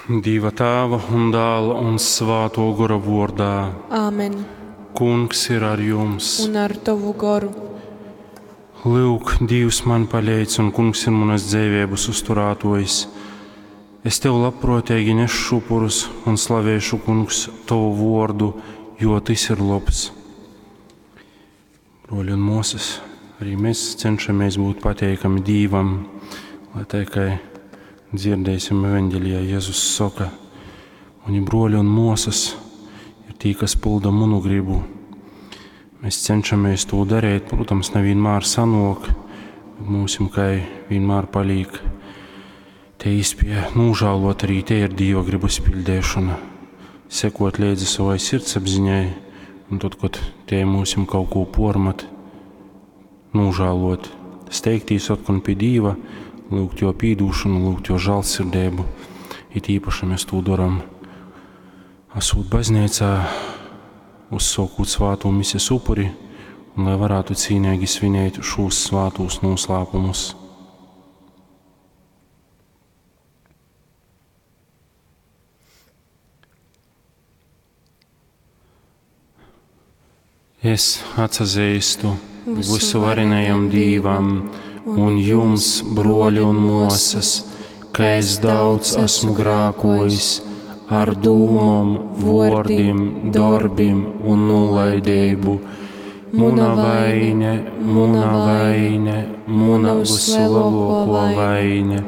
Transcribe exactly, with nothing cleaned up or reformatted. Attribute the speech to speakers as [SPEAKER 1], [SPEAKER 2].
[SPEAKER 1] Dieva Tēva un Dēla un Svāto Gora vārdā.
[SPEAKER 2] Āmen.
[SPEAKER 1] Kungs ir ar jums.
[SPEAKER 2] Un ar tovu goru.
[SPEAKER 1] Lūk, Dievs man palīdz, un Kungs ir manas dzīvības uzturētājs. Es tev labprātīgi nešu upurus un slavēšu, Kungs, tavu vārdu, jo tas ir labs. Broļi un māsas, arī mēs cenšamies būt pateikami Dievam, lai tā kā dzirdēsim evaņģēlijā, Jēzus saka, mani broļi un māsas ir tī, kas pilda manu gribu. Mēs cenšamies to darīt, protams, nevienmēr sanok, bet mums kā vienmēr paliek te īspēja nožēlot, arī te ir Dieva gribas pildīšana, sekot līdzi savai sirdsapziņai, un tad, kad te mums kaut ko pormat, nožēlot, steigtīs atkal pie Dieva, lūgt jo pīdūšanu, lūgt jo žēlsirdību. It īpaši mēs to darām, esot baznīcā, uzsākot svāto misijas upuri, un lai varētu cīnīgi svinēt šos svātos noslēpumus. Es atsazīstu visuvarenajam Dievam un jums, broļi un māsas, ka es daudz esmu grākojis ar dūmom, vārdiem, darbiem un nolaidību. Muna vaine, muna vaine, muna vislielāko vaine.